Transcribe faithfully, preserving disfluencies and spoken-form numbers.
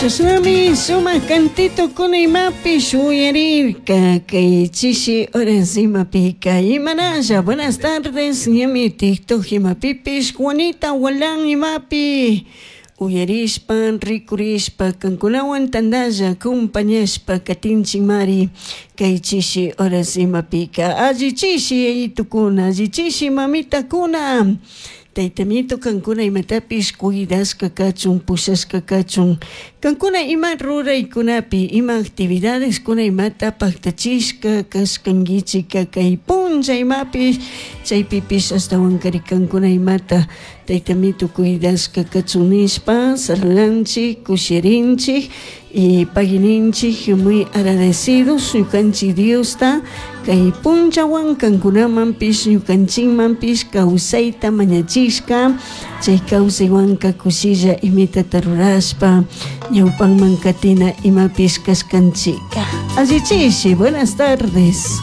Chashnami sumak cantitokuna imapish uyarirka kay chishi horas imapika. Imanalla, buenas tardes, ñami TikTok imapipish Juanita Walán imapi uyarishpa, rikurishpa, kankunawan tandalla acompañashpa katinchikmari kay chishi horas imapika. Alli chishi yayitukuna, alli chishi mamitakuna. Taytamito kankuna imatapish cuidashka kachun, pushashka kachun. Kankuna ima ruraykunapi, ima actividadeskuna imata paktachishka kashkankichika kay punlla imapish chaypipish ashtawankari kankuna imata taytamito cuidashka kachun nishpa saludanchik, kushirinchik y pagininchik muy agradecidos ñukanchik Diosta kay punllawan kankunamanpish ñukanchikmanpish kawsayta mañachishka chay kawsaywanka kushilla imitata rurashpa ñawpanman katina imapish kashkanchika. Alli chishi, buenas tardes.